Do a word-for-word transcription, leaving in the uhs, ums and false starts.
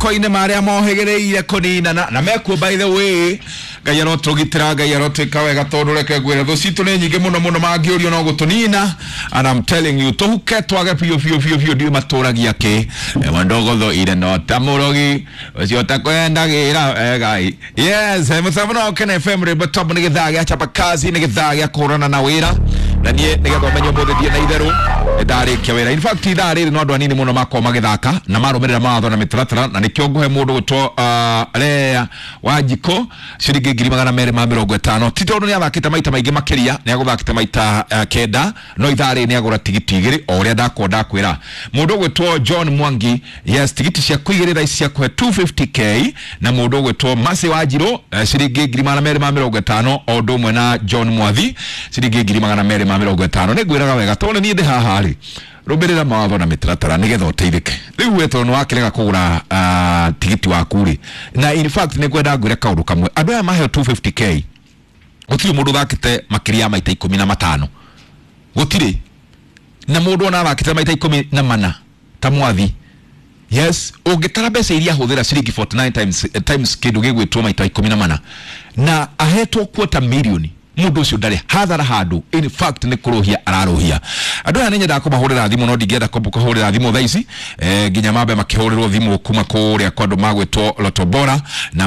Moko-inĩ marĩa mohĩgĩrĩire kũninana na mekuo. By the way, Ngai arotũgitĩra, Ngai arotwĩka wega, tondũ reke ngwĩre, thũ citũ nĩ nyingĩ mũno mũno, mangĩũrio no gũtũnina. And I'm telling you, tũhuke twage biũ biũ biũ biũ. Ndiũĩ matũragia kĩ wandogotho ire no ta mũrogi ũcio takwendagĩra egai. Yes, mũtambo no Kena F M, rĩmbo top. Nĩ gĩthaa gĩa chapa kazi, nĩ gĩthaa gĩa kũhũrana na wĩra, na niĩ nĩgetha ũmenye ũmũthĩ thiĩ na itherũ nĩndarĩkia wĩra. In fact, ithaa rĩrĩ no andũ anini mũno makorwo magĩthaka na marũmĩrĩra mawatho na mĩtaratara, na nĩkĩo ngũhe mũndũ gwĩtwo uh, Lea Wanjikũ ciringi ngiri magana merĩ ma mĩrongo ĩtano. Ti tondũ nĩ athakĩte maita maingĩ makĩria, nĩ agũthakĩte maita uh, kenda, no ithaa rĩrĩ nĩ agũra tigiti igĩrĩ o ũrĩa ndakwo ndakwĩra. Mũndũ ũgwĩtwo John Mwangi, yes, tigiti ciaku igĩrĩ thaa ici ciakũhe two fifty k, na mũndũ ũgwĩtwo Mercy Wanjirũ eh, ciringi ngiri magana merĩ ma mĩrongo ĩtano, o ũndũ ũmwe na John Mwathi ciringi ngiri magana merĩ ma mĩrongo ĩtano. Nĩ ngwĩraga wega, tondũ nĩ niĩ ndĩ haha rĩ, rũmĩrĩra mawatho na mĩtaratara nĩgetha ũteithĩke. Rĩu we tondũ nĩwakĩrega kũgũra uh, tigiti waku rĩ, na in fact nĩ ngwenda ngwĩre kaũndũ kamwe. Andũ aya maheo two fifty k, gũtirĩ mũndũ ũthakĩte makĩria ya maita ikũmi na matano, gũtirĩ na mũndũ ona athakĩte maita ikũmi na mana ta Mwathi. Yes, ũngĩtara mbeca iria ahũthĩra, ciringi forty-nine times, eh, times kĩndũ gĩgwĩtwo maita ikũmi na mana, na ahetwo quarter million, mũndũ ũcio ndarĩ hathara handũ. In fact, nĩ kũrũhia ararũhia. Andũ aya nĩ nyendaga kũmahũrĩra thimũ, no ndingĩenda kũhũrĩra thimũ thaa ici, eh, nginya mambe makĩhũrĩrwo thimũ kuma kũrĩa kwa andũ magwĩtwo Loto Bora na